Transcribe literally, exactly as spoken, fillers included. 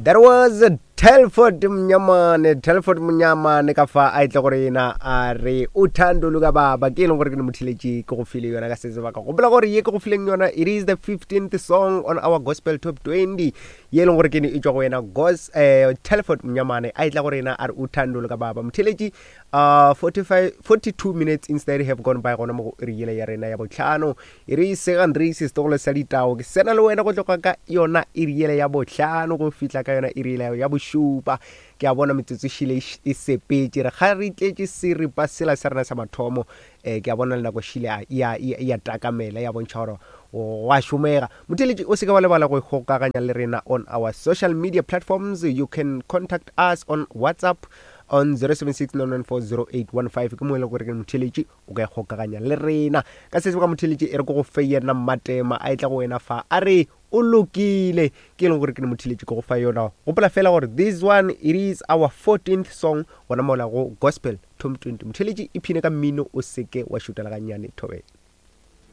There was Telford Mnyamane, Telford Mnyamane ka fa a itle gore yena a re uthando luka baba ke e leng gore ke ne motheletše ke go file yona ka se sebaka. Gopola gore ye ke go fileng yona it is the fifteenth song on our gospel top twenty ye e leng gore ke ne e tšwa go yena gos eh, Telford Mnyamane a itla gore yena a re uthando luka baba. Motheletše uh, forty-five, forty-two minutes instead have gone by gona mo go iri yela ya rena ya bohlano. E re Segandrisi setogolo sa ditao ke sena le wena go tloga ka yona iri yela ya bohlano go fihla ka yona iri yela ya bošupa. Ke a bona metsotso šile e š-, e sepetše, re ga re tletše seripa sela sa rena sa mathomo. Eh, ke a bona le nako šile ya, ya, ya, ya takamela, ya bontšha gore go a šomega. Motheletši o se ke wa lebala go ikgokaganya le rena on our social media platforms. You can contact us on WhatsApp on zero seven six nine nine four zero eight one five. Ke mo e leng gore ke motheletši o ka ikgokaganya le rena. Ka se sebaka motheletši e re ke go fe yena Mmatema a etla go wena fa a re o lokile, ke e leng gore ke motheletši ke go fa yona. Gopola fela gore this one it is our fourteenth song gona mola go gospel top twenty. Motheletši iphine ka mmino o seke wa šutela gannyane thobela.